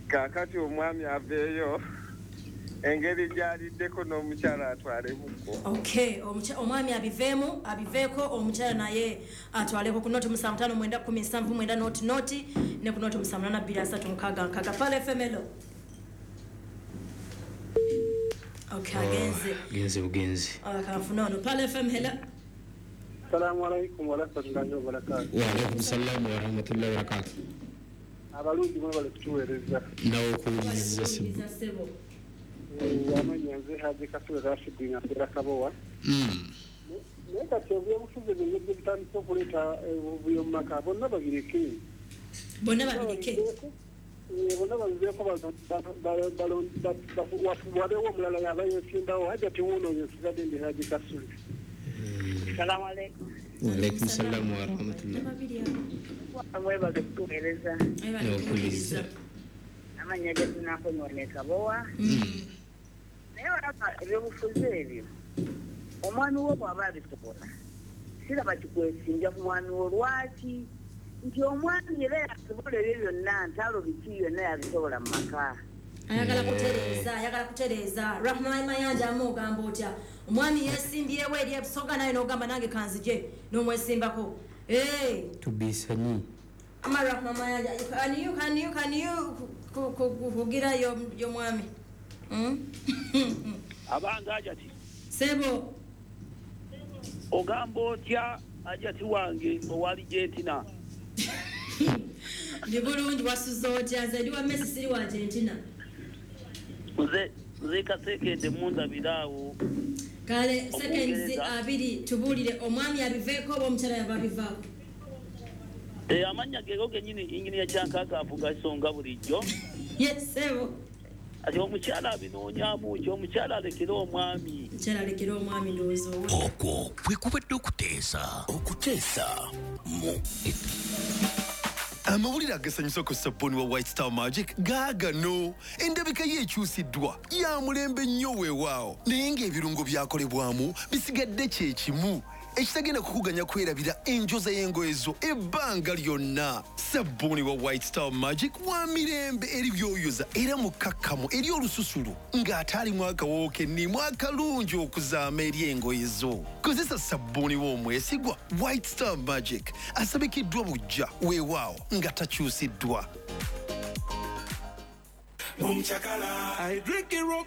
Kaakati omwami aveeyo engeri gy'aliddeko n'omukyala atwalemuko. Okay, omwami abiveemu, abiveeko, omukyala naye atwaleko ku 0 7 5 9 17 0 0 ne ku 0 7 8 2 3 6 6. Pearl FM, hello. Okay, agenze. Genze bugenzi. Kanfuna ono. Pearl FM, hello. Assalamu alaikum warahmatullahi wabarakatuh. Wa alaikum salam wa rahmatullahi wa barakatuh. Abalungi mwe bali kutuweereza. Nawe okuwuliriza sebo. Amannya nze Haji Kasule Rashid nga mbeera Kabowa. Naye kati ebyobufuzi bino bye bitandise okuleeta obuvuyo mu maka, bonna babireke. Bonna babireke. Bonna babiveeko, wabeewo omulala yaba yeesimbawo. Hajati wuuno oyo nsigadde ndi Haji Kasule. Assalamu alaikum. Wa alaikum salam wa rahmatullah. Mwebale kutuweereza. Okuwuliriza. Amannya ge tunakonyola Kabowa. Naye olaba ebyobufuzi ebyo, omwami wo bw'aba abisobola, siraba kikwesimbya ku mwami wo. Lwaki? Nti omwami era yasobola ebyo byonna, ntalo biki byonna yabisobola mu maka. Ayagala kutereeza, ayagala kutereeza. Rahman Mayanja, amugamba otya? Omwami yeesimbyewo eri ebusoga, naye n'ogamba nange kanzije n'omwesimbako. Tubisanyi. Ama Rahman Mayanja, can you kugira yo mwami? Abanga Hajati. Sebo. Ogamba otya Hajati wange owa Argentina? Ndi bulungi, wasuze otya? Nze ndi wa Messi, siri wa Argentina. Nze kasekende mundabira awo. Kale seconds 2 tubuulire, omwami abiveeko oba omukyala yaba abivaako? Amannya gego gennyini inginiya Kyankaka avuga ensonga bulijjo. Yes, sebo. Ati omukyala abinoonyaamu ki? Omukyala alekere omwami. Omukyala alekere omwami, ndowooza owo. Okwo kwe kubadde okuteesa. Okuteesa mu Amawulire agasanyusa ku sabbuuni wa White Star Magic gaagano. Endabika ye ekyusiddwa, ya mulembe nnyo weewaawo, naye ng'ebirungo byakolebwamu bisigadde kye kimu, ekitagenda kukuganya kwerabira enjoza y'engoye zo ebbanga lyonna. Sabbuuni wa White Star Magic wa mirembe eri byoyoza era mukkakkamu eri olususu ng'ate alimu akawoowo kennimu akalungi okuzaama eri engoye zo. Kozesa sabbuuni w'omwesigwa White Star Magic asabikiddwa buggya weewaawo nga takyusiddwa. I drink it.